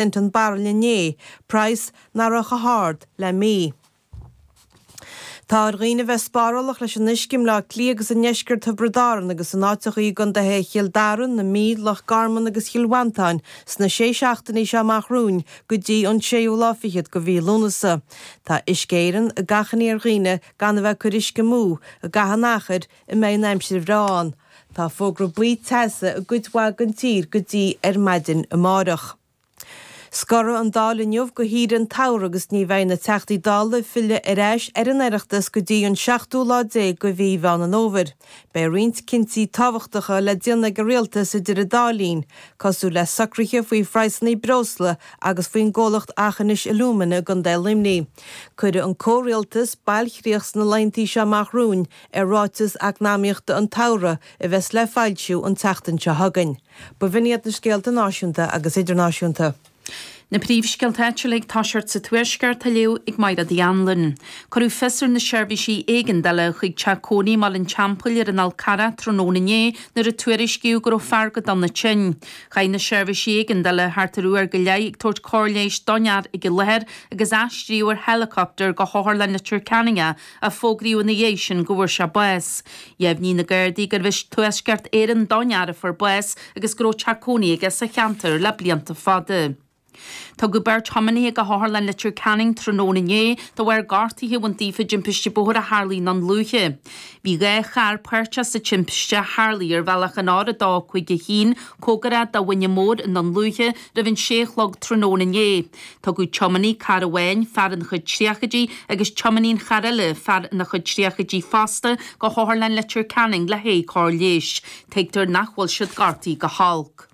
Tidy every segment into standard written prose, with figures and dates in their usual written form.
Cent an bairille inné, praghas nach raibh chomh hard le mí. Tá ar dhaoine bheith spárálach leis an uisce i mBleá Cliath agus i ndeisceart Thiobraid Árann agus in áiteachaí i gcontaetha Chill Dara, na Mí, Loch Garman agus Chill Mhantáin sna sé seachtainí seo amach romhainn go dtí an séú lá fichead de mhí Lúnasa. Tá Uisce Éireann ag achainí ar dhaoine gan a bheith ag cur uisce amú i gcaitheamh an achair a mbeidh an aimsir bhreá ann. Tá fógra buí teasa i gcuid mhaith den tír go dtí ar maidin amáireach. Scorfaidh an Dáil inniu go shaoire an tsamhraidh agus ní bheidh na Teachtaí Dála ag filleadh ar ais ar an Oireachtas go dtí an seachtú lá déag de mhí Mheán an Fhómhair. Beidh roinnt cinntí tábhachtacha le déanamh ag an Rialtas idir an dá linn, cosúil le socruithe faoi phraghsanna breosla agus faoin gcomhlacht Aughinish Alumina i gContae Luimnigh. Cuirfidh an comhrialtas bailchríoch sna laethantaí seo amach romhainn ar ráiteas eacnamaíochta an tsamhraidh a bheas le foilsiú an tseachtain seo chugainn. B'in iad na scéalta náisiúnta agus idirnáisiúnta. Na príomhscéalta áitiúla ag toiseacht sa Tuaisceart á léamh ag Mairéad Uí Anluain. Cuireadh fios ar na seirbhísí éigeandála chuig teach cónaí i mBaile an Teampaill ar an Fhál Carrach tráthnóna inné nuair a tuairiscíodh go raibh fear go dona tinn. Chaith na seirbhísí éigeandála thart ar uair go leith ag tabhairt cóir leighis don fhear ag an láthair agus aistríodh ar heileacoptar go hOtharlann Leitir Ceanainn é ach fógraíodh ina dhiaidh sin go bhfuair sé bás. Dheimhnigh na Gardaí gurbh as Tuaisceart Éireann don fhear a fuair bás agus go raibh teach cónaí aige sa cheantar le blianta fada. Tugadh beirt thiománaithe go hOtharlann Leitir Ceanainn tráthnóna inné de bharr gortuithe a bhain daofa i dtimpiste bóthair a tharlaigh i nDún Lúiche. Bhí 2 charr páirteach sa timpiste a tharlaigh ar bhealach an R2 5 1 cóngarach do Mhuine Mór i nDún Lúiche roimh an 6 a chlog tráthnóna inné. Tugadh tiománaí cairr amháin, fear ina chuid tríochaidí, agus tiománaí an chairr eile, fear ina chuid tríochaidí fosta, go hOtharlann Leitir Ceanainn le haghaidh cóir leighis. Tuigtear nach bhfuil siad gortaithe go holc.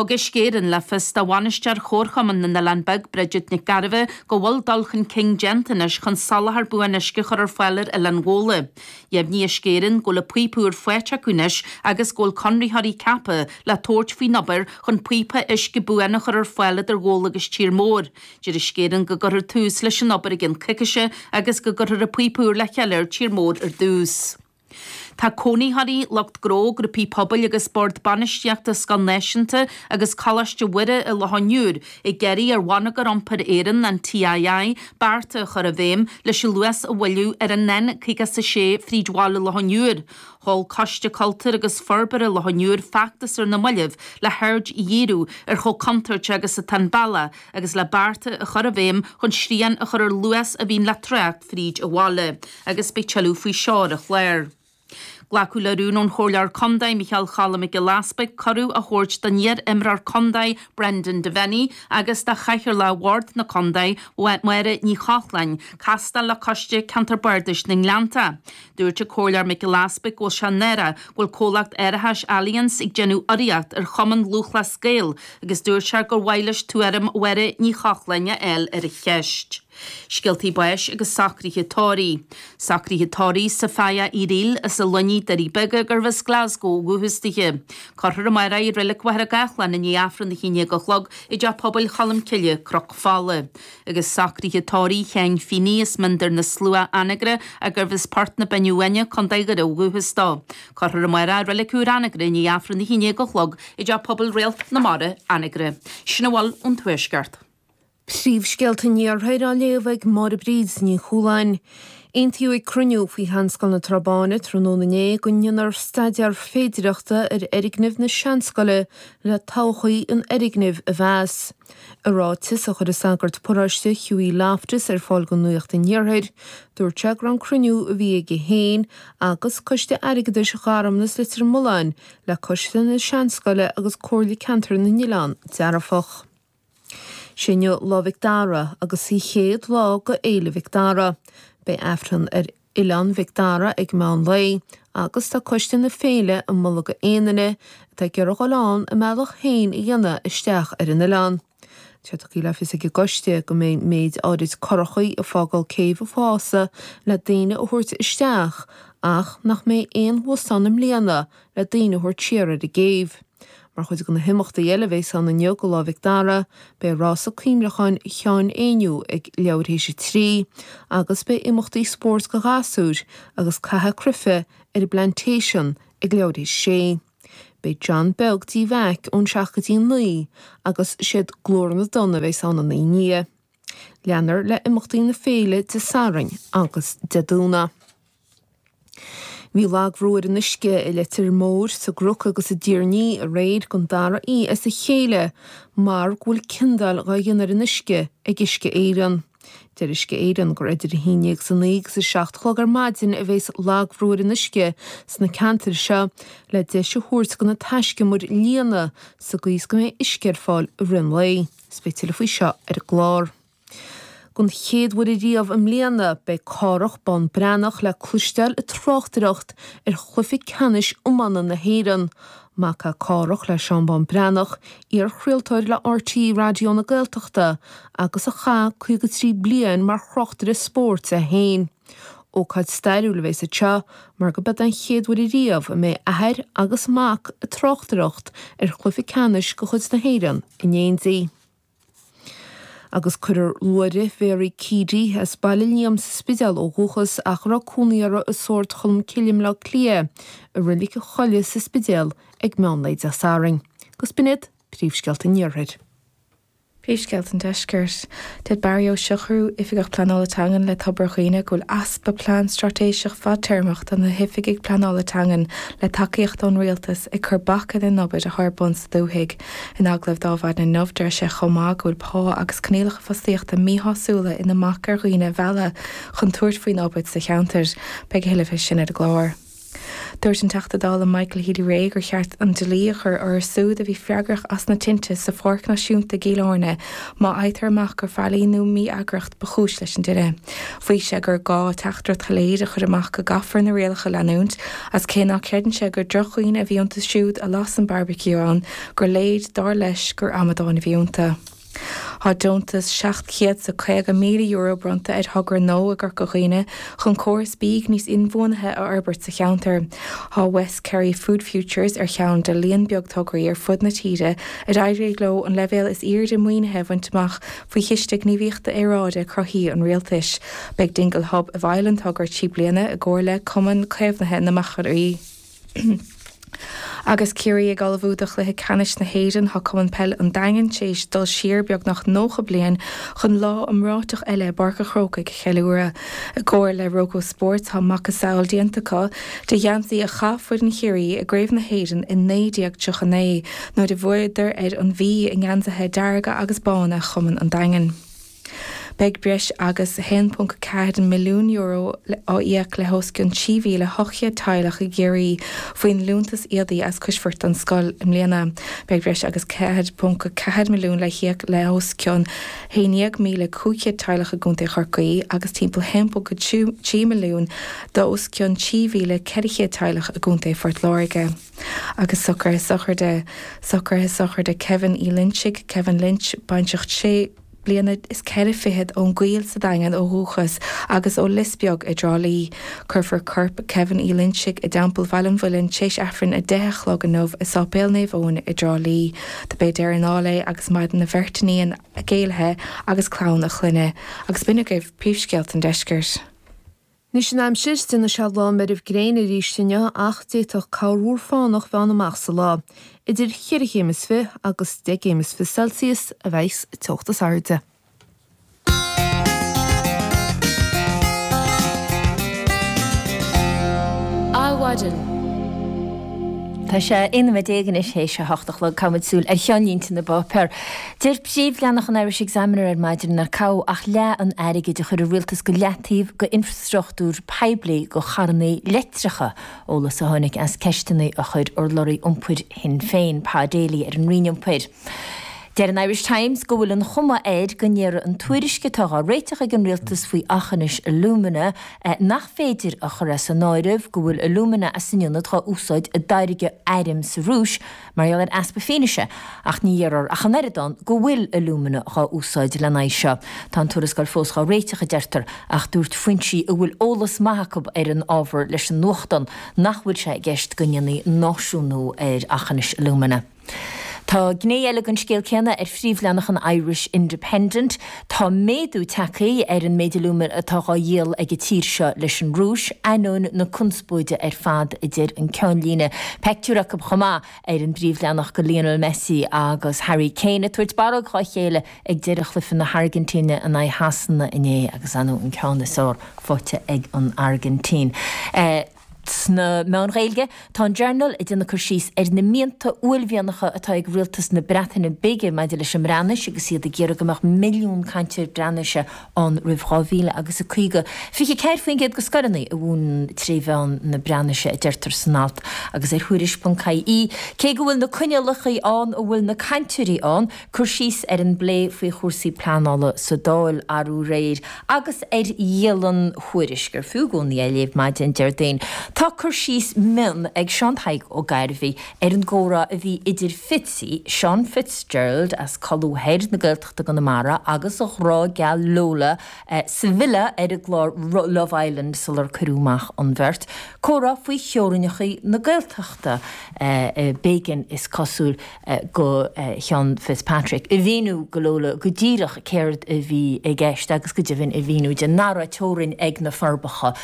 Thug Uisce Éireann le fios do bhainisteoir Chomharchumann na nOileán Beag, Bridget Nic Gairbheith, go bhfuil dul chun cinn déanta anois chun soláthar buan uisce a chur ar fáil ar Oileán Ghabhla. Dheimhnigh Uisce Éireann go bhfuil an píopa úr faighte acu anois agus go bhfuil conraitheoirí ceaptha le tabhairt faoin obair chun píopa uisce buan a chur ar fáil idir Ghabhla agus Tír Mór. Deir Uisce Éireann go gcuirfear tús leis an obair i gcionn coicíse agus go gcuirfear an píopa úr le chéile ar Tír Mór ar dtús. Tá cónaitheoirí, lucht gnó, grúpaí pobail agus Bord Bainistíochta Scoil Náisiúnta agus Coláiste Mhuire i Loch an Iúir ag iarraidh ar Bhonneagar Iompair Éireann, an TII, bearta a chur i bhfeidhm leis an luas a mhoilliú ar an N56 fríd bhaile Loch an Iúir. Sheol Coiste Cultúir agus Forbartha Loch an Iúir feachtas ar na mallaibh le haird a dhíriú ar chomh contúirteach agus atá an bealach agus le bearta a chur i bhfeidhm chun srian a chur ar luas a bhíonn le trácht fríd an bhaile. Agus beidh tuilleadh faoi seo ar an chlár. Glacadh le rún ón Chomhairleoir Contae, Micheál Choilm Mac Giolla Easpaig, cuireadh a thabhairt don iar-imreoir contae Brendan Devenney agus do Chathaoirleach Bhord na Contae, Máire Ní Chochláin, castáil le Coiste Ceantar Bardais na nGleannta. Dúirt an Comhairleoir Mac Giolla Easpaig go bhfuil sé náireach go bhfuil comhlacht árachais Allianz ag déanamh urraíocht ar Chumann Lúthchleas Gael agus dúirt sé gur mhaith leis tuairim Mháire Ní Chochláin a fháil ar an cheist. Scéaltaí báis agus socruithe tórraimh. Socruithe tórraimh Sophia Uí Fhrighil as an Luinnigh, Doirí Beaga, gurbh as Glasgow ó dhúchas dithe. Cuirfear amárach í i Reilig Mhachaire Gathlán i ndiaidh Aifreann 11 a chlog i dTeach Pobail Cholm Cille, Cnoc Fola. Agus socruithe tórraimh Sheáin Feeney as Miondar na Slua, Anagaire, ach gurbh as Port na Binne Uaine, Co. Dhoire ó dhúchas dó. Cuirfear amárach i Reilig Úr Anagaire i ndiaidh Aifreann 11 a chlog i dTeach Pobail Réalt na Mara, Anagaire. Sin a bhfuil ón Tuaisceart. Príomhscéalta an Iarthair á léamh ag Máire Bríd Ní Chualáin. Aontaíodh ag cruinniú faoi Sheanscoil na Trá Báine tráthnóna inné go ndéanfar staidéar féidireachta ar fhoirgneamh na Seanscoile le todhchaí an fhoirgnimh a mheas. I ráiteas a chuir an sagart paróiste Hughie Loftus ar fáil do Nuacht an Iarthair, dúirt sé go raibh an cruinniú a bhí aige féin agus Coiste Airgeadais Gharmanas Leitir Mealláin le Coiste na Seanscoile agus Comhairle Ceantair na nOileán dearfach. Sé inniu Lá Mhic Dara agus an chéad lá go Fhéile Mhic Dara. Beidh Aifreann ar Oileán Mhic Dara ag meán lae agus tá coiste na féile ag moladh go aon duine atá ag iarraidh dhul ann a mbealach féin a dhéanamh isteach ar an oileán. Tá tugtha le fios ag an gcoiste go mbeidh méid áirid curachaí ag fágáil céibh an Pháosa le daoine a thabhairt isteach ach nach mbeidh aon bhus ann i mbliana le daoine a thabhairt siar ar an gcéibh. Mar chuid de na himeachtaí eile a bheas ann inniu go Lá Mhic Dara, beidh rása cuimhneacháin Sheáin Éinniú ag leathuair théis a 3 agus beidh imeachtaí spóirt go ghasúir agus caitheamh cruife ar an bPlantation ag leathuair théis a 6. Beidh John Beag D. Mheaic ón 7 go dtí 9 agus siad Glór na dTonn a bheas ann ina ndiaidh. Leanfar le imeachtaí na féile Dé Sathairn agus Dé Domhnaigh. Bhí lagbhrú ar an uisce i Leitir Móir, sa gCnoc agus i dTír an Fhia aréir don dara oíche as a chéile mar go bhfuil ciondáil dhá dhéanamh ar an uisce ag Uisce Éireann. Deir Uisce Éireann gur idir a haon déag is a naoi agus a 7 a chlog ar maidin a bheas lagbhrú ar an uisce sna ceantair seo le deis a thabhairt do na taiscumair líonadh sa gcaoi is go mbeidh uisce ar fáil i rith an lae. Is beidh tuilleadh faoi seo ar an gclár. Don chéad uair ariamh i mbliana, beidh Cárthach Bán Breathnach le cloisteáil ag tráchtaireacht ar chluiche ceannais iomána na hÉireann. Mac é Cárthach le Seán Bán Breathnach, iar-chraoltóir le RTÉ Raidió na Gaeltachta agus a chaith 53 bliain mar thráchtaire spóirt é féin. Ócáid stairiúil a bheas anseo mar go b'é an chéad uair ariamh a mbeidh athair agus mac ag tráchtaireacht ar chluiche ceannais de chuid na hÉireann in éindí. Agus cuirfear luaithreamh Mhary Keady, as Baile Liam sa Spidéal ó dhúchas ach a raibh cónaí uirthi i Sord Cholm Cille i mBleá Cliath, i Reilig an Choilligh sa Spidéal ag meán lae Dé Sathairn. Agus b'in iad príomhscéalta an Iarthair. Príomhscéalta an Deiscirt. Deir Barry Ó Siochrú, Oifigeach Pleanála Teangan le Tobar Dhuibhne go bhfuil easpa plean straitéiseach fadtéarmach do na hoifigigh pleanála teangan le tacaíocht ón Rialtas ag cur bac ar an obair atá ar bun sa dúthaigh. In agallamh d'Adhmhaidin inniu, deir sé chomh maith go bhfuil pá agus coinníollacha fostaíochta míshásúla ina mbac ar dhaoine a mhealladh chun tabhairt faoin obair sa cheantar. Beidh a thuilleadh faoi sin ar an gclár. Dúirt an Teachta Dála Michael Healy-Rae gur cheart an dlí a chur orthu siúd a bhí freagrach as na tinte sa Pháirc Náisiúnta i gCill Airne má fhaightear amach gur faillí nó mí-eagracht ba chúis leis an dtine. Mhaígh sé gur gá teachtaireacht shoiléir a chur amach go gcaithfear na rialacha a leanúint Agus cé ná creideann sé gur drochdhaoine a bhí iontu siúd a las an barbecue ann, gur léir, dar leis, gur amadáin a bhí iontu. Tá deontas €750,000 bronnta ar thogra nua i gCorca Dhuibhne chun córas bídh níos inbhuanaithe a fhorbairt sa cheantar. Tá West Kerry Food Futures ar cheann de líon beag tograí ar fud na tíre ar éirigh leo an leibhéal is airde maoinithe a bhaint amach faoi Chiste Gníomhaíochta Aeráide Croí an Rialtais. Beidh Dingle Hub i bhfeighil an togra 3 bliana i gcomhar le Cumann Caomhnaithe na Machairí. Agus Ciarraí ag ullmhú do chluiche ceannais na hÉireann, tá Cumann Peile an Daingin tar éis dul siar beagnach 90 bliain chun lá iomráiteach eile i bPáirc an Chrócaigh a cheiliúradh. I gcomhar le Roco Sports tá macasamhail déanta acu de gheansaí a chaith foireann Chiarraí i gCraobh na hÉireann i 1939 nuair a bhuadar ar an Mhí i ngeansaithe dearga agus bána Chumann an Daingin. Beidh breis agus €1.4 milliún á íoc le hos cionn 3,800 teaghlach i gCiarraí faoin Liúntas Éadaí as Coisbhirt don Scoil i mbliana. Beidh breis agus €4.4 milliún le híoc le hos cionn 11,500 teaghlach i gContae Chorcaí agus timpeall €1.3 milliún d'os cionn 3,400 teaghlach i gContae Phort Láirge. Agus socruithe sochraide, socruithe sochraide Kevin Uí Loinsigh, Kevin Lynch, baintreach 6 bliana is 4 fichead ón gCoill sa Daingean ó dhúchas agus ó Lios Beag i dTrá Lí. Cuirfear corp Kevin Uí Loinsigh i dTeampall Bhaile an Mhuilinn téis Aifreann 10 a chlog inniu i Sáipéal Naomh Eoin i dTrá Lí. Do b'é deireadh na ndáil é agus maireann a bheirt iníon, a gcéilithe agus clann a chlainne. Agus b'in agaibh príomhscéalta an deiscirt. Anois an aimsir, déanfaidh sé lá meirbh gréine arís inniu ach d'fhéadfadh corrmhúr fánach bheith ann amach sa lá. Idir cheithre chéim is fi agus deich gcéim is fi Celsius a bheidh an teocht is airde. Adhmhaidin. Tá sé 11 nóiméad anois théis a hocht a chlog. Caithfimid súil ar cheannlínte na bpáipéar. Deir príomhleathanach an Irish Examiner ar maidin nár caitheadh ach leath an airgid a chuir an rialtas go leataobh go infrastruchtúr poiblí go charrannaí leictreacha, eolas a tháinig as ceisteanna a chuir urlabhraí iompair Shinn Féin, Pa Daly ar an Roinn Iompair. Deir an Irish Times go bhfuil an chuma air go ndéarfaidh an tuairisc atá dhá réiteach ag an rialtas faoi auchanish alumina nach féidir a chur as an áireamh go bhfuil alumina as an ionad dhá úsáid i dtáirgeadh airm sa Rúis mar gheall ar easpa fianaise ach ní dhéarfar ach an oiread ann go bhfuil alumina dhá úsáid lena aghaidh seo. Tá an tuarascáil fós dhá réiteach a deirtear ach dúirt foinsí a bhfuil eolas maith acu ar an ábhar leis an nuachtán nach bhfuil sé i gceist go ndéanfaí náisiúnú ar Aughinish Alumina. Tá gné eile den scéal céanna ar phríomhleathanach an Irish Independent. Tá méadú tagtha ar an méid alúmanaim atá dhá dhíol ag an tír seo leis an Rúis, ainneoin na conspóide ar fad, a deir an ceannlíne. Peictiúr acu chomh maith ar an bpríomhleathanach de Lionel Messi agus Harry Kane ag tabhairt barróg dhá chéile ag deireadh chluiche na hAirgintíne in aghaidh Shasana inné agus ar ndóigh an ceann is fearr faighte ag an Airgintín. Sna meáin Ghaeilge, tá an Journal ag déanamh cur síos ar na mianta uaillmhianacha atá ag rialtas na Breataine Bige maidir leis an mBreatnais agus iad ag iarraidh go mbeadh milliún cainteoir Breatnaise ann roimh 2000 agus a 50. 24% de scoileanna a mhúineann tré mheán na Breatnaise, a deirtear san alt. Agus ar Thuairisc.ie, cé go bhfuil na coinníollacha ann, an bhfuil na cainteoirí ann? Cur síos ar an bplé faoi chúrsaí pleanála sa Dáil arú aréir agus ar dhialann Thuairisc, ar fiú i gcónaí é a léamh maidin Déardaoin. Tá cur síos mion ag Seán Tadhg Ó Gairbhí ar an gcomhrá a bhí idir Fitzy, Seán Fitzgerald as Colú Thoir na Gaeltachta i gConamara agus a ghrá geal Lola sa villa ar an gclár Love Island sular cuireadh amach an bheirt. Comhrá faoi theorainneacha na Gaeltachta. B'éigean, is cosúil, do Sheán Fitzpatrick a mhíniú do Lola go díreach céard a bhí i gceist agus go deimhin a mhíniú di nach raibh teorainn ag na Forbacha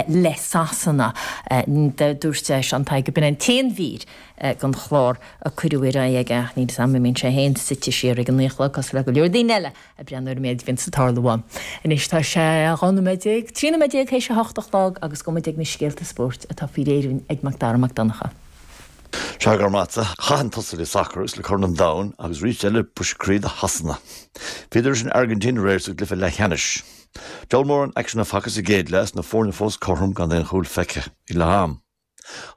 le Sasana. Dúirt Seán Tadhg go b'in an t-aon mhír den chlár a cuireadh ar aghaidh aige ach níl 'fhios a'm an mbíonn sé féin suite siar ag an naoi a chlog cosúil le go leor daoine eile ag breathnú ar an méid a bhíonns ag tarlú ann. Anois tá sé 12 nóiméad, 13 nóiméad théis a hocht a chlog agus gabhfaidh muid ag na scéalta spóirt atá faoi réir againn ag Macdara Mac Donncha. Sea, go raibh maith a't. Chaith an tusa le sacar agus le Corn an Domhain agus arís eile briseadh croí do Shasana. Bhíodar leis an Airgintín aréir sa gcluiche leathcheannais. Diabhal mórán aicsin a facthas sa gcéad leath is na foirne fós cothrom gan aon chúl feicthe ag leath am.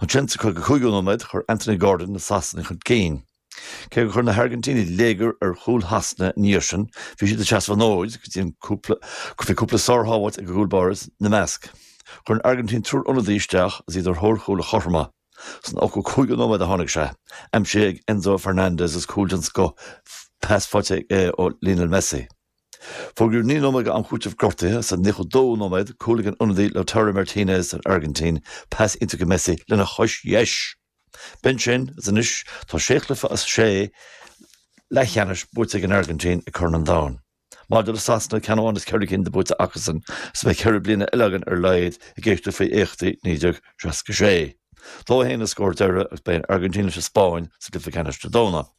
Ansin sa 55ú nóiméad chuir Anthony Gordon na Sasanaigh chun cinn. Cé gur chuir na hAirgintínigh léigear ar chúl Shasana ina dhiaidh sin, bhí siad ag seasamh an fhóid go dtí an cúpla, bhí cúpla sárshábháilt ag a gcúl báire ina measc. Chuir an Airgintín triúr ionadaí isteach agus iad ar thóir chúl a chothromú. San 85ú nóiméad a tháinig sé, aimsithe ag Enzo Fernandez is cúl den scoth, pas faighte aige ó Lionel Messi. Fógraíodh 9 nóiméad d'am cúitimh gortaithe sa 92ú nóiméad, cúl ag an ionadaí Lautaro Martinez don Airgintín, pas iontach ag Messi lena chois dheis! B'in sin, agus anois tá sé chluiche as sé leathcheannais buaite ag an Airgintín ag Corn an Domhain. Maidir le Sasana, ceann amháin as ceithre cinn de buaite acusan, is beidh ceithre bliana eile againn ar a laghad ag éisteacht faoi éachtaí 1966. 2-1 an scór deiridh agus beidh an Airgintín leis an Spáinn sa gcluiche ceannais Dé Domhnaigh.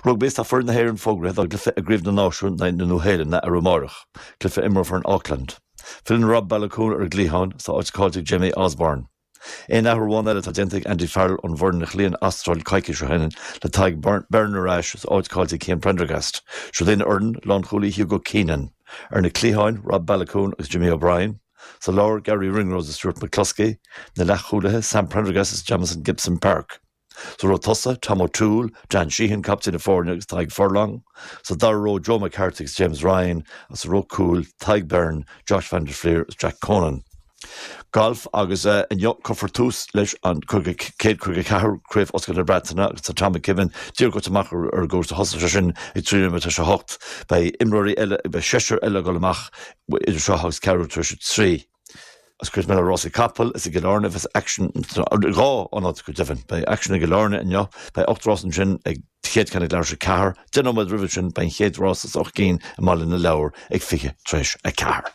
Rugbaí Is tá foireann na hÉireann fógraithe dá gcluiche i gCraobh na Náisiún in aghaidh na Nua-Shéalainne arú amárach, cluiche a imreofar in Auckland. Filleann Rob Baloucoune ar an gcliathán is tá áit caillte ag Jamie Osborne. Aon athrú amháin eile atá déanta ag Andy Farrell ón bhfoireann a chloígh an Astráil coicís ó shin, le Tadhg Beirne ar ais is áit caillte ag Cian Prendergast. Siúd é an fhoireann, lánchúlaí Hugo Keenan. Ar na cliatháin, Rob Baloucoune agus Jimmy O'Brien. Sa lár, Garry Ringrose is Stuart McCloskey. Na leathchúlaithe, Sam Prendergast is Jamison Gibson-Park. Sa ró tosaigh, Tom O'Toole, Dan Sheehan, captaen na foirne agus Tadhg Furlong. Sa dara ró, Joe McCarthy agus James Ryan agus sa ró cúil, Tadhg Beirne, Josh van der Flier agus Jack Conan. Galf agus inniu cuirfear tús leis an 154 Craobh Oscailte na Breataine agus tá Tom McKibbin díreach gaibhte amach ar an gcúrsa. Thosaigh sé sin ag 3 nóiméad tar éis a 8. Beidh imreoirí eile, beidh seisear eile ag dul amach idir seo agus ceathrú tar éis a 3. Agus cuirfidh mé le rásaí capall is i gCill Airne a bheas aicsean i dhá ionad go deimhin. Beidh aicsean i gCill Airne inniu, beidh 8 rás ansin ag chéad ceann ag leathuair tar éis a ceathair. Deich nóiméad roimhe sin beidh an chéad rás as 8 gcinn i mBaile na Lobhar ag 20 tar éis a ceathair.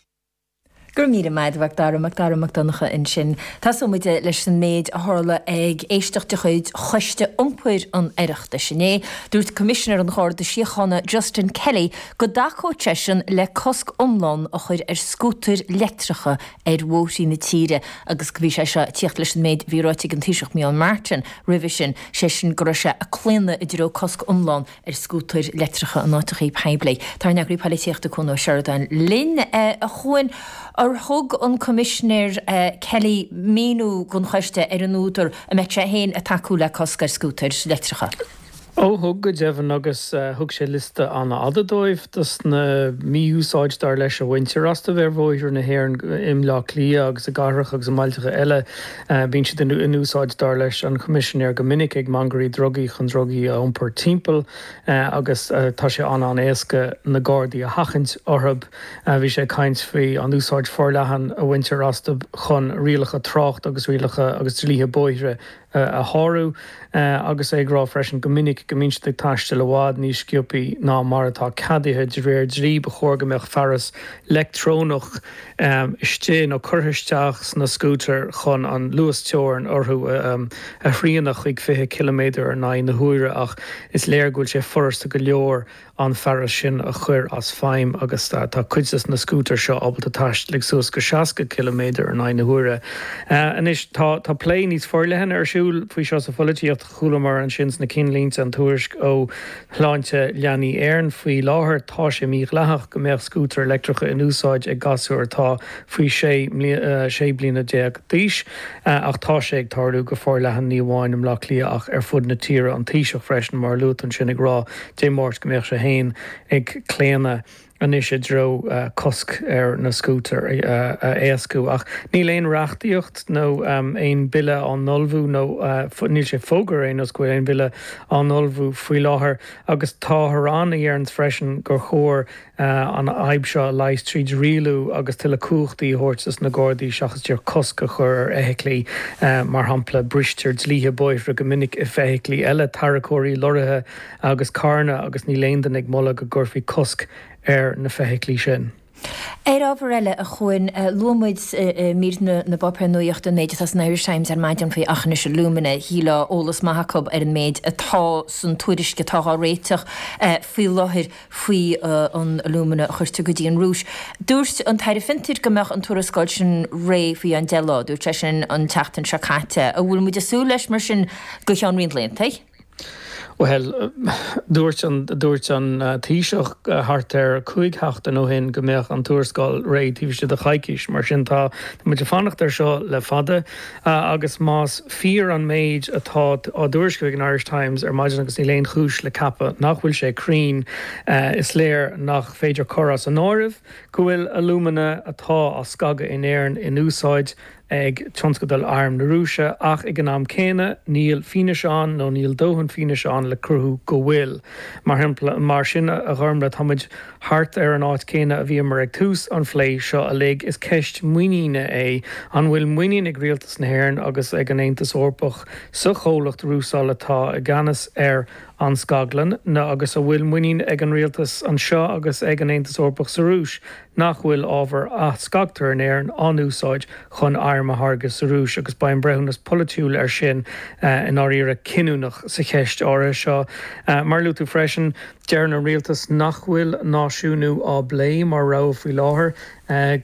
Go raibh míle maith agat, a Mhac Dara, Macdara Mac Donncha ansin. Tosóidh muid leis an méid a tharla ag éisteacht de chuid Choiste Iompair an Oireachtais inné. Dúirt Coimisinéir an Gharda Síochána Justin Kelly go dtacódh seisean le cosc iomlán a chur ar scútair leictreacha ar bhóithrí na tíre agus go bhí sé seo ag tíocht leis an méid a bhí ráite ag an Taoiseach Micheál Martin roimhe sin, sé sin go raibh sé ag claonadh i dtreo cosc iomlán ar scútair leictreacha in áiteachaí poiblí. Tá ár n-eagraí polaitíochta Cuan Ó Seireadáin linn. A Chuain, ar thug an Coimisinéir Kelly míniú don choiste ar an údar a mbeadh sé féin ag tacú le cosc ar scútair leictreacha? Ó thug, go deimhin, agus thug sé liosta an-fhada dóibh dos na mí-úsáid, dar leis, a bhaintear astu ar bhóithre na hÉireann, i mBleá Cliath agus i gcathracha agus i mbailteacha eile. Bíonn siad in úsáid, dar leis an Choimisinéir, go minic ag mangairí drugaí chun drugaí a iompar timpeall agus tá sé an-an-éasca na Gardaí a sheachaint orthu. Bhí sé ag caint faoi an úsáid forleathan a bhaintear astu chun rialacha tráchta agus rialacha agus dlíthe bóithre. a shárú agus é ag rá freisin go minic go mbíonn siad ag taisteal i bhfad níos sciobthaí ná mar atá ceadaithe de réir dlí. Ba chóir go mbeadh fearas leictreonach istigh nó curtha isteach sna scútair chun an luas teorann orthu a shrianadh chuig 20 ciliméadar in aghaidh na huaire ach is léir go bhfuil sé furasta go leor an fearas sin a chur as feidhm agus tá cuid de na scútair seo ábalta taisteal ag suas go 60 ciliméadar in aghaidh na huaire. Anois tá tá plé níos forleithne ar siúl faoi seo sa pholaitíocht. Chualamar ansin sna cinnlínte an tuairisc ó Shláinte Leanaí Éireann. Faoi láthair tá sé mídhleathach go mbeadh scútair leictreacha in úsáid ag gasúir atá faoi 16 bliana d'aois ach tá sé ag tarlú go forleathan ní amháin i mBleá Cliath ach ar fud na tíre. An Taoiseach freisin mar a luaigh tú ansin ag rá Dé Máirt go mbeadh sé féin ag claonadh anois i dtreo cosc ar na scútair a éascú. Ach níl aon reachtaíocht nó aon bhille á n-ullmhú nó níl sé fógartha ar aon nós go bhfuil aon bhille á n-ullmhú faoi láthair agus táthar ann a dheireanns freisin gur chóir an fhadhb seo a leigheas tríd rialú agus tuilleadh cumhachtaí a thabhairt dos na Gardaí seachas díreach cosc a chur ar fheithiclí. Mar shampla, bristear dlíthe bóithre go minic i bhfeithiclí eile, tarracóirí, lorraithe agus carranna agus níl aon duine ag moladh go gcuirfí cosc ar na feithiclí sin. Ar ábhar eile, a Chuain, luaigh muid i mír na bpáipéar nuachta an méid atá san Irish Times ar maidin faoi Aughinish Alumina. Shílfeá eolas maith acu ar an méid atá san tuairisc atá á réiteach faoi láthair. faoi an alumina a chuirtear go dtí an Rúis. Dúirt an tAire Fiontair go mbeadh an tuarascáil sin réidh faoi cheann 10 lá. Dúirt sé sin an tseachtain seo caite. An bhfuil muid ag súil leis mar sin go cheann roinnt laethanta? Bhuel, dúirt an, dúirt an Taoiseach thart ar 5 sheachtain ó shin go mbeadh an tuarascáil réidh taobh istigh de choicís. Mar sin tá muid ag fanacht air seo le fada. Agus más fíor an méid atá á dtuairisciú ag an Irish Times ar maidin, agus níl aon chúis le ceapadh nach bhfuil sé cruinn, is léir nach féidir cur as an áireamh go bhfuil alúmana atá á scagadh in Éirinn in úsáid ag tionscadal airm na Rúise, ach ag an am céanna níl fianaise ann nó níl dóthain fianaise ann le cruthú go bhfuil. Mar shampla, mar sin, a Ghormlaith, tá muid thart ar an áit céanna a bhíomar ag tús an phlé seo uilig. Is ceist muiníne é. An bhfuil muinín ag Rialtas na hÉireann agus ag an Aontas Eorpach sa chomhlacht Rusal atá i gceannas ar an scaglann, nó agus an bhfuil muinín ag an Rialtas anseo agus ag an Aontas Eorpach sa Rúis nach bhfuil ábhair a scagtar in Éirinn á n-úsáid chun airm a tháirgeadh sa Rúis? Agus beidh an breithiúnas polaitiúil air sin i ndáiríre cinniúnach sa cheist áirithe seo. Mar a luaigh tú freisin, Deireann an rialtas nach bhfuil náisiúnú á bplé mar rogha faoi láthair.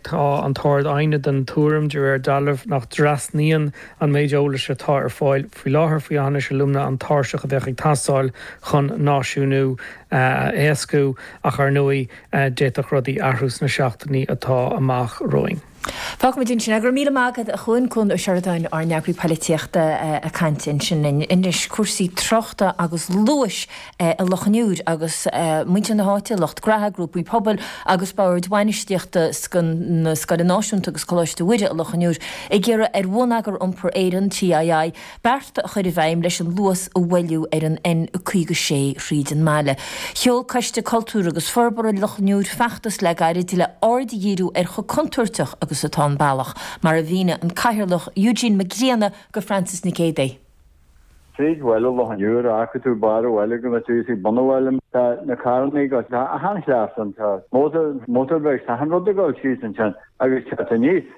Tá an tArd-Aighne den tuairim, de réir dealraimh, nach dtrasnaíonn an méid eolais atá ar fáil faoi láthair faoi Aughinish Alumina an tairseach a bheadh ag teastáil chun náisiúnú a éascú, ach ar ndóigh d'fhéadfadh rudaí athrú sna seachtainí atá amach romhainn. Fágfaimid ansin é. Go raibh míle maith agat, a Chuain, Cuan Ó Seireadáin, ár n-eagraí poilitíochta ag caint ansin linn. Anois, cúrsaí tráchta agus luais i Loch an Iúir agus muintir na háite, lucht graithe, grúpaí pobail agus boird bhainistíochta na Scoile Náisiúnta agus Coláiste Mhuire i Loch an Iúir ag iarraidh ar Bhonneagar Iompair Éireann, TII, bearta a chur i bhfeidhm leis an luas a mhoilliú ar an N56 thríd an mbaile. Sheol Coiste Cultúir agus Forbartha Loch an Iúir feachtas le gairid le aird a dhíriú ar chomh contúirteach agus atá an bealach, mar a mhínigh an Cathaoirleach Eugene Mac Grianna go Frances Nic Géadaigh. Tríd bhaile Loch an Iúir, fhágfaidh tú barr an bhaile go mbeidh tú ag bun an bhaile. Tá na carranna ag dul, tá achan chleas ann, tá motor, motorbikes, tá achan rud ag dul síos ansin agus teacht aníos.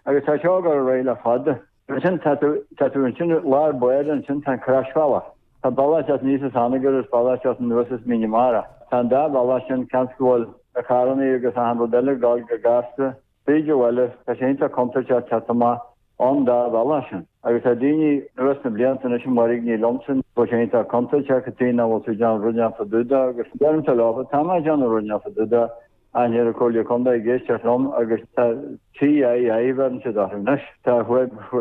Agus tá seo ag dul ar aghaidh le fada. Ansin tá tú, tá tú ansin i lár báire, ansin tá an croisbhealach. Tá bealach teacht aníos as Anagaire agus bealach teacht anuas as Mín na Mara. Tá an dá bhealach sin, cionn is go bhfuil na carrannaí agus achan rud eile ag dul go gasta tríd an bhaile, tá sé iontach contúirteach teacht amach ón dá bhealach sin. Agus tá daoine anuas na blianta anois ag mairgní liomsa go bhfuil sé iontach contúirteach cad chuige nach bhfuil tú ag déanamh rud inteacht fá dtaobh de agus deirimse leofa, tá mé ag déanamh rud inteacht fá dtaobh de Ach níl an Comhairle Contae ag éisteacht liom agus tá TII bheireann siad orthu anois. Tá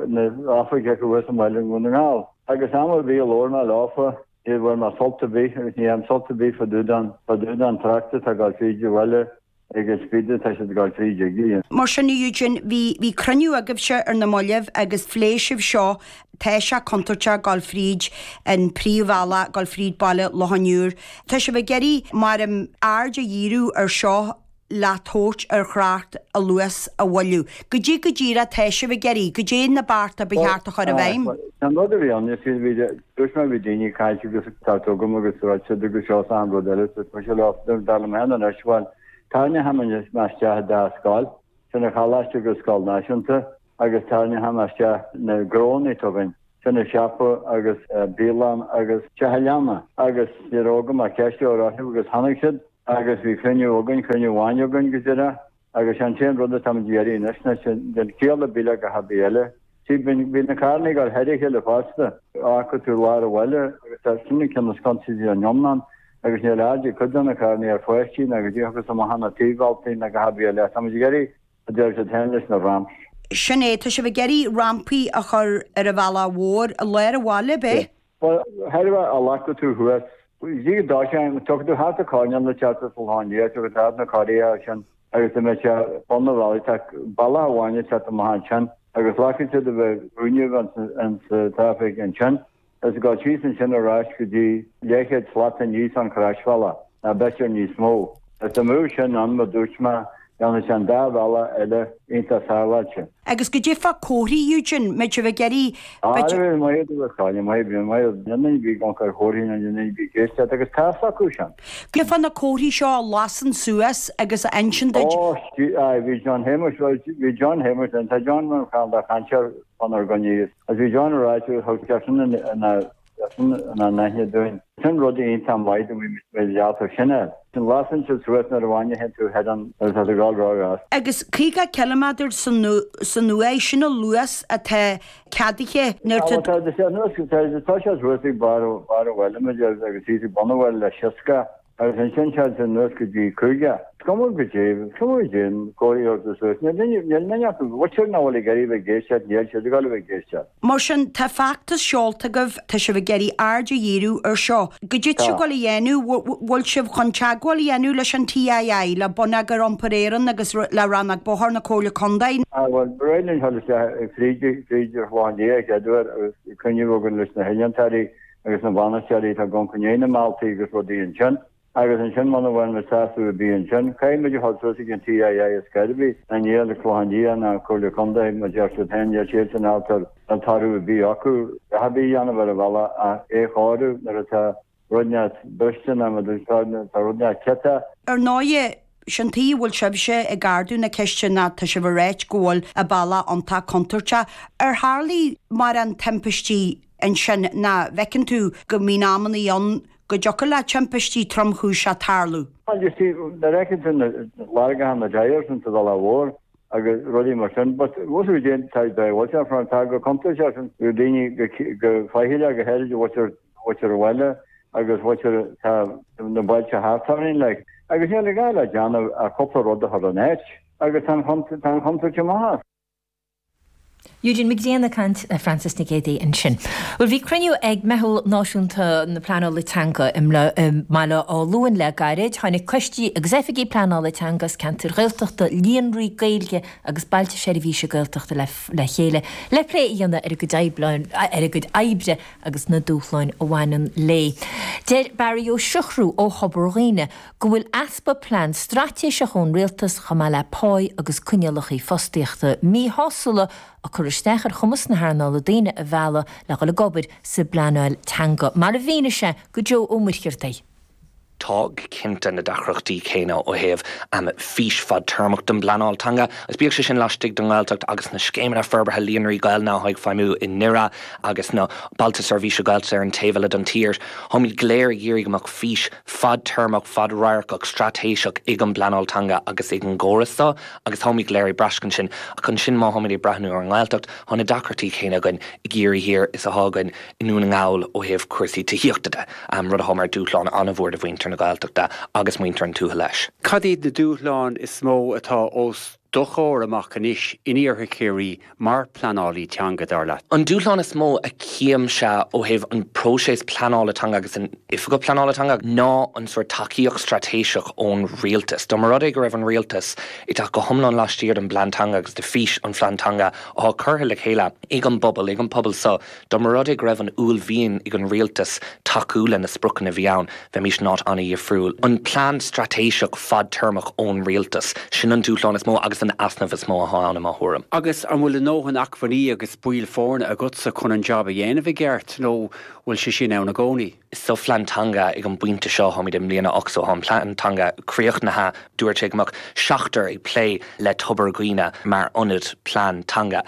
na oifig acu thuas i mbaile i nDún na nGall. Agus am ar bith a labhair mé leofa ní bhfuair mé sult ar bith agus ní fhaighim sult ar bith fá dtaobh den fá dtaobh den trácht atá ag dul fríd an bhaile ag an speed atá siad ag dul fríd aige. Mar sin, a Eugene, bhí bhí cruinniú agaibhse ar na mallaibh agus phléigh sibh seo Tá sé contúirteach dul fríd an príomhbhealach, dul fríd baile Loch an Iúir. Tá sibh ag iarraidh, mar aird a dhíriú ar seo. le tabhairt ar thrácht a luas a mhoilliú. Goidé go díreach atá sibh ag iarraidh, goidé na bearta ba cheart a chur i bhfeidhm. An rud a bhí ann, is bhí, dúirt mé bhí daoine ag caint agus tá agam agus ráit siad agus seo is achan rud eile, dúirt mise leo, dar liom féin anois, bhuel, tarraingeoidh mé isteach an dá scoil, sin an choláiste agus scoil náisiúnta, agus tarraingeoidh mé isteach na gnónna atá againn, sin an siopa agus bialann agus teach an leanna agus ní raibh agam ach ceist a chur orthu agus tháinig siad agus bhí cruinniú againn, cruinniú amháin againn go díreach agus sé an t-aon rud atáimid ag iarraidh anois ná sin den chiall ar bith le gach ar bith eile. See, bíonn na carranna ag dul thar a chéile fosta, fágfaidh tú lár an bhaile agus tá sin an ceann is contúirtí den iomlán agus níl aird ag cuid de na carranna ar pháistí ná go dtí agus amach ar na taobhbhealtaí ná gach ar bith eile. Táimid ag iarraidh a deir siad féin leis na ramps. Sin é, tá sibh ag iarraidh rampaí a chur ar an bhealach mhór i lár an bhaile, ab é? Bhuel, thairbhe a ghlacfaidh tú thuas. Dtí go dtoiseann, tiocfaidh tú thart an coirnéal le teacht as Loch Liath, tiocfaidh tú thart na Coirithe ansin agus dá mbeadh sé bun an bhealaigh, tá bealach amháin ag teacht amach ansin agus glacfaidh siad a bheith cúinne an sa traffic ansin. Is ag dul síos ansin ar ais go dtí leathchéad slat aníos an croisbhealach, ná b'fhéidir níos mó. Is dá mbeadh sin ann, mar dúirt mé, dhéanfadh sé an dá bhealach eile iontach sábháilte. Agus goidé fá comharthaí, Eugene, mbeidh sibh ag iarraidh, Á, bhí maith agat, a chailín, maith, bhí maith agat. Níl duine ar bith ag amharc ar chomharthaí ná níl duine ar bith ag éisteacht agus tá's acu sin. Goidé fá na comharthaí seo a lasann suas agus a inseann duit. Ó, aye, bhí John Shéamuis, bhuel, bhí John Shéamuis linn, tá John mar cheann dá chainteoir fánár gcoinne. Agus bhí John ag ráit thug sé sin ina n-aithne dúinn. Sin rud iontach maith do bhí mé leáite sin air. Sin lasann siad suas nuair a bhainfidh tú thoir an nuair atá tú ag dul róghas. Agus 50 ciliméadar san uair, sin an luas atá ceadaithe nuair atá. Tá sé anuas, tá sé suas ag barr an bhaile muid agus thíos ag bun an bhaile le seasca. Agus ansin téann sé anuas go dtí 50. Is cuma goidé, is cuma goidé an comhartha a thabhairt suas. Níl duine, níl duine acu, b'fhéidir nach bhfuil ag iarraidh a bheith ag éisteacht, níl siad ag dul a bheith ag éisteacht. Mar sin, tá feachtas seolta agaibh, tá sibh ag iarraidh aird a dhíriú ar seo. Goidé tá sibh ag dul a dhéanamh, bhfuil sibh chun teagmháil a dhéanamh leis an TII, le Bonneagar Iompair Éireann agus le Rannóg Bóthair na Comhairle Contae? Ah, bhuel, ba réidh linn dul isteach fríd, fríd ar Chlochán Liath a chéaduair agus cruinniú againn leis na hinnealtóirí agus na bainisteoirí atá ag amharc i ndiaidh na mbealtaí agus rudaí ansin. Agus ansin muna bhfuil muid sásamh ar bith ansin, caithfidh muid a dhul suas ag an TII ar scor ar bith. Ná níl Clochán Liath ná Comhairle Contae, mar deir siad féin, níl siadsan ábalta níl toradh ar bith acu a dhath ar bith a dhéanamh ar an bhealach ach é a chóiriú nuair atá rud inteacht briste nó má tá rud inteacht ciotach. Ar ndóighe, Sin tuige a bhfuil sibhse ag ardú na ceiste ná tá sibh ag ráit go bhfuil an bealach iontach contúirteach. Ar tharlaigh mórán timpistí ansin ná bhfeiceann tú go mbíonn amannaí ann go dtiocfadh le timpistí tromchúiseacha tarlú? Bhuel, you see, nuair a fheiceann tú na lorgacha na tyres insa bhealach mhór agus rudaí mar sin, but bhfuil tú ag déanamh, tá, bhfuil sé, tá go contúirteach sin, go daoine go, go faichilleach go háirid, bhfuil mhuintir an bhaile agus mhuintir tá na bailte thart orainn like. Agus níl gá le déanamh ach cúpla rud a chur in áit agus tá an tá an chontúirt amach as. Eugene Mac Grianna ag caint le Frances Nic Géadaigh ansin. Bhuel bhí cruinniú ag Meitheal Náisiúnta na Pleanála Teanga i mBaile Átha Luain le gairid. Tháinig coistí agus oifigigh pleanála teanga as ceantair Ghaeltachta, líonraí Gaeilge agus bailte seirbhíse Gaeltachta le chéile le plé a dhéanamh ar a gcuid oibre agus na dúshláin a bhaineann léi. Deir Barry Ó Siochrú ó Thobar Dhuibhne go bhfuil easpa plean straitéiseach ón rialtas chomh maith le páí agus coinníollacha fostaíochta míshásúla ag cur isteach ar chumas na hearnála daoine a mhealladh le dhul ag obair sa bpleanáil teanga, mar a mhínigh sé go Joe Ó Muircheartaigh. Tá go cinnte na deacrachtaí céanna ó thaobh fís fadtéarmach don bpleanáil teanga, agus bíodh sé sin laistigh den nGaeltacht agus na scéimeanna forbartha líonraí Gaelainne atá ag feidhmiú i nDoire agus na Bailte Seirbhíse Gaeltachta ar an taobh eile den tír. Táimid go léir ag iarraidh go mbeadh fís fadtéarmach, fadradharcach, straitéiseach ag an bpleanáil teanga agus ag an gcóras seo agus táimid go léir ag braiscint sin. Ach ansin má tháimid ag breathnú ar an nGaeltacht, tá na deacrachtaí céanna againn i gCiarraí Thiar is atá againn i nDún na nGall ó thaobh cúrsaí tithíochta de, rud atá mar dúshlán an-mhór do mhuintir na Gaeltachta agus muintir an tuaithe leis. Cad iad na dúshláin is mó atá os. do chomhair amach anois in iarthar Chiarraí mar pleanálaí teanga, dar leat? An dúshlán is mó a chímse ó thaobh an próiseas pleanála teanga agus an Oifigeach Pleanála Teanga ná an sórt tacaíocht straitéiseach ón rialtas. Dá mba rud é go raibh an rialtas ag teacht go hiomlán laistiar den bplean teanga agus de fís an phlean teanga atá curtha le chéile ag an bpobal, ag an pobal seo, Dá mba rud é go raibh an uaillmhian ag an rialtas tacú le na spriocanna a bhí ann, bheimís in áit an-dhifriúil. An plean straitéiseach fadtéarmach ón rialtas, sin an dúshlán is mó agus an easnamh is mó atá ann i mo thuairim. Agus an bhfuil a ndóthain acmhainní agus baill foirne agatsa chun an jab a dhéanamh i gceart nó bhfuil sé sin ann i gcónaí? Sa phlean teanga ag an bpointe seo, táimid i mbliain a 8 so tá an plean teanga críochnaithe, dúirt sé go mbeadh seachtar ag plé le Tobar Dhuibhne mar ionad plean teanga.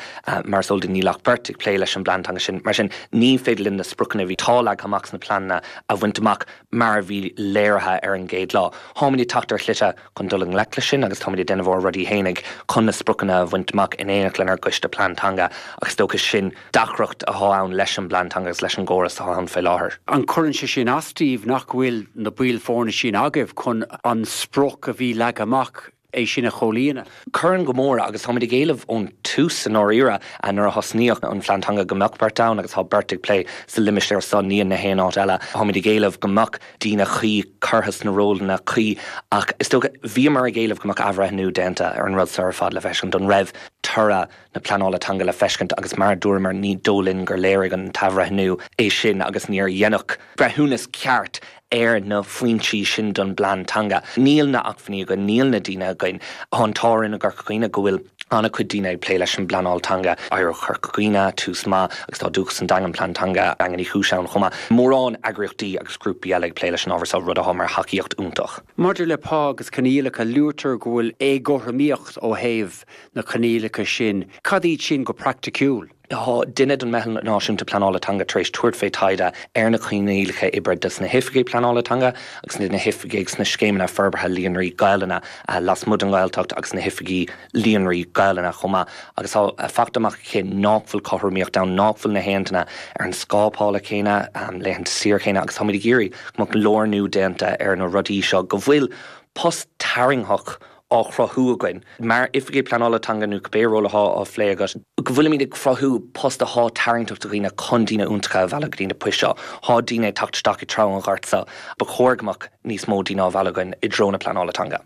Mar is eol duit níl ach beirt ag plé leis an bplean teanga sin. Mar sin ní féidir linn na spriocanna a bhí atá leagtha amach sna pleananna a bhaint amach mar a bhí léirithe ar an gcéad lá. Táimid ag teacht ar shlite chun dul i ngleic leis sin agus táimid ag déanamh ár rudaí fhéinig chun na spriocanna a bhaint amach in éineacht lenár gcoiste plean teanga ach is dócha sin deacracht atá ann leis an bplean teanga agus leis an gcóras atá ann fé láthair. An gcuireann sé sin as daoibh nach bhfuil na baill foirne sin agaibh chun an sprioc a bhí leagtha amach, é sin a chomhlíonadh? Cuireann go mór agus táimid ag éileamh ón tús i ndáiríre nuair a thosnaíodh an phlean teanga go mbeadh beirt ann agus tá beirt ag plé sa limistéar seo, ní in na haon áit eile. Táimid ag éileamh go mbeadh daoine cuí curtha sna rólanna cuí ach is dócha bhíomar ag éileamh go mbeadh athbhreithniú déanta ar an rud seo ar fad le feiscint an raibh toradh na pleanála teanga le feiscint agus mar a dúramar ní dóigh linn gur léirigh an t-athbhreithniú é sin agus níor deineadh breithiúnas ceart ar na foinsí sin don bplean teanga. Níl na acmhainní againn, níl na daoine againn. Tá an t-ádh orainn i gCorca Dhuibhne go bhfuil an-chuid daoine ag plé leis an bpleanáil teanga, Oidhreacht Chorca Dhuibhne, Tús Maith agus tá Dúchas an Daingin, Plean Teanga Dhaingean Uí Chúis ann chomh maith. Mórán eagraíochtaí agus grúpaí eile ag plé leis an ábhar seo, rud atá mar thacaíocht iontach. Maidir le pá agus coinníollacha, luaitear go bhfuil éagothromaíocht ó thaobh na coinníollacha sin, cad iad sin go praiticiúil? Tá duine den Meitheal Náisiúnta Pleanála Teanga tar éis tabhairt fé taighde ar na coinníollacha oibre dos na hoifigigh pleanála teanga agus na hoifigigh sna scéimeanna forbartha líonraí Gaelainne lasmuigh den Ghaeltacht agus na hoifigigh líonraí Gaelainne chomh maith agus tá fachta amach aici nách bhfuil cothromaíocht ann, nách bhfuil na haon duine ar an scáth pá céanna, laethanta saoire céanna agus táimid ag iarraidh go mbeadh lárnú déanta ar na rudaí seo, go bhfuil post tarraingtheach á chruthú againn, mar Oifigigh Pleanála Teanga nó cibé ról atá á phlé agat, go bhfuilimid ag cruthú post atá tarraingteach do dhaoine chun daoine iontacha a mhealladh go dtí na poist seo. Tá daoine ag teacht isteach i dtreo an ghoirt seo. Ba chóir go mbeadh níos mó daoine á mhealladh againn i dtreo na pleanála teanga.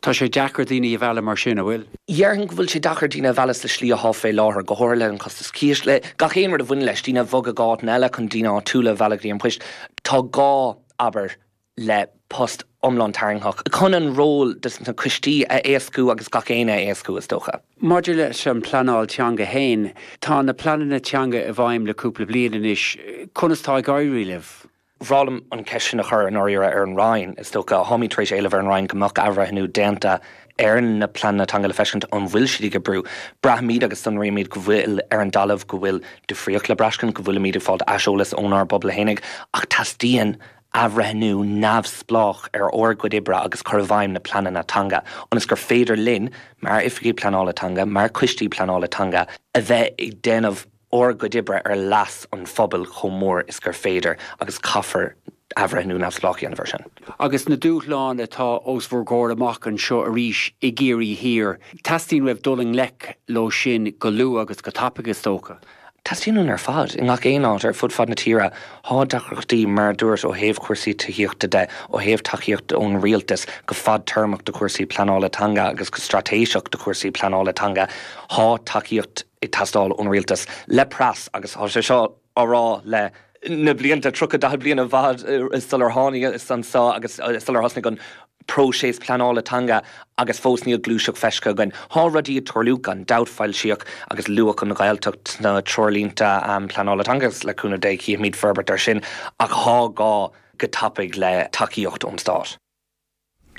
Tá sé deacair daoine a mhealladh mar sin, an bhfuil? Dhéarfainn go bhfuil sé deacair daoine a mhealladh sa slí atá fé láthair, go háirithe le an costas cíos, le gach aon rud a bhaineann leis, daoine a bhogadh go áiteanna eile chun daoine áitiúla a mhealladh go dtí an poist. Tá gá, abair, le post iomlán tarraingtheach chun an ról dos na coistí a éascú agus gach éinne a éascú, is dócha. Maidir leis an bpleanáil teanga féin, tá na pleananna teanga i bhfeidhm le cúpla bliain anois, conas tá ag éirí libh? Bhreá liom an cheist sin a chur i ndáiríre ar an Roinn, is dócha. Táimid tar éis éileamh ar an Roinn go mbeadh athbhreithniú déanta ar na pleananna teanga le feiscint an bhfuil siad ag oibriú. Braithimid agus sonraímid go bhfuil ar an dtalamh go bhfuil difríocht le braiscint, go bhfuilimid ag fáilt aiseolas ónár bpobal fhéinig ach teastaíonn athbhreithniú neamhspleách ar ár gcuid oibre agus cur i bhfeidhm na pleananna teanga, ionas gur féidir linn, mar oifigigh pleanála teanga, mar choistí pleanála teanga, a bheith ag déanamh ár gcuid oibre ar leas an phobail chomh mór is gur féidir, agus caithfear athbhreithniú neamhspleách a dhéanamh air sin. Agus na dúshláin atá os bhur gcomhair amach anseo arís i gCiarraí Thiar, teastaíonn uaibh dul i ngleic leo sin go luath agus go tapaidh, is dócha? Teastaíonn uainn ar fad, i ngach aon áit ar fud fad na tíre. Tá deacrachtaí, mar a dúirt, ó thaobh cúrsaí tithíochta de, ó thaobh tacaíocht ón rialtas go fadtéarmach do chúrsaí pleanála teanga agus go straitéiseach do chúrsaí pleanála teanga. Tá tacaíocht ag teastáil ón rialtas le pras agus tá sé seo á rá le na blianta, 30, 40 bliain i bhfad sular tháinig anseo agus sular thosnaigh an próiseas pleanála teanga agus fós níl gluaiseacht feiscthe againn. Tá rudaí ag tarlú gan dabht, foilsíodh agus luadh an Ghaeltacht sna treoirlínte pleanála teanga agus le cúnamh Dé cífimid forbairt ar sin ach tá gá go tapaidh le tacaíocht ón stát.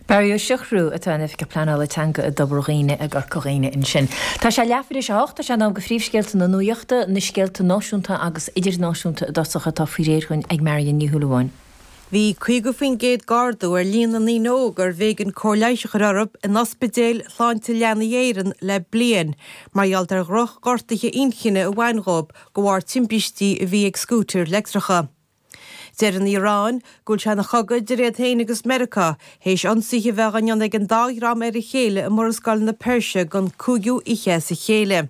Barry Ó Siochrú atá ina Oifigeach Pleanála Teanga i dTobar Dhuibhne i gCorca Dhuibhne ansin. Tá sé leathuair tar éis a hocht, tá sé in am do phríomhscéalta na nuachta, na scéalta náisiúnta agus idirnáisiúnta i dtosach atá faoi réir dhúinn ag Marion Ní Shúilleabháin. Bhí 50% d'ardú ar líon na ndaoine óga arbh éigean cóir leighis a chur orthu in ospidéil Shláinte Leanaí Éireann le bliain mar gheall ar dhroch-ghortuithe inchinne a bhain dhóibh de bharr timpistí a bhí ag scútair leictreacha. Deir an Iaráin go bhfuil sé ina chogadh idir iad féin agus Meiriceá, théis ionsaithe a bheith á ndéanamh ag an dá dhream ar a chéile i Murascaill na Peirse don cúigiú oíche as a chéile.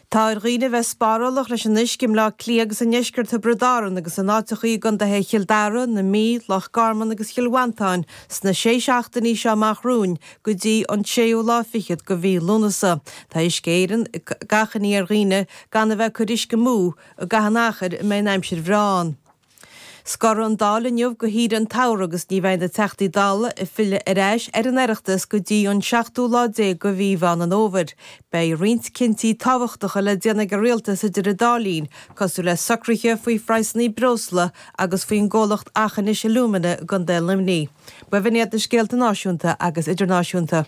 Tá ar dhaoine a bheith spárálach leis an uisce i mBleá Cliath agus i ndeisceart Thiobraid Árann agus in áiteachaí i gcontaetha Chill Dara, na Mí, Loch Garman agus Chill Mhantáin sna sé seachtainí seo amach romhainn go dtí an séú lá fichead de mhí Lúnasa. Tá Uisce Éireann ag achainí ar dhaoine gan a bheith ag cur uisce amú i gcaitheamh an achair a mbeidh an aimsir bhreá ann. Scorfaidh an Dáil inniu go shaoire an tsamhraidh agus ní bheidh na Teachtaí Dála ag filleadh ar ais ar an Oireachtas go dtí an seachtú lá déag de mhí Mheán an Fhómhair. Beidh roinnt cinntí tábhachtacha le déanamh ag an Rialtas idir an dá linn, cosúil le socruithe faoi phraghsanna breosla agus faoin gcomhlacht Aughinish Alumina i gContae Luimnigh. B'in iad na scéalta náisiúnta agus idirnáisiúnta.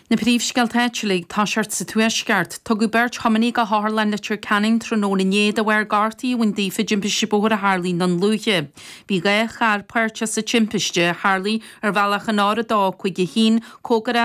Na príomhscéalta áitiúla ag toiseacht sa Tuaisceart. Tugadh beirt thiománaí go hOtharlann Leitir Ceanainn tráthnóna inné de bharr gortaithe a bhain daofa i dtimpiste bóthair a tharlaigh i nDún Lúiche. Bhí 2 charr páirteach sa timpiste, a tharlaigh ar bhealach an R251, cóngarach.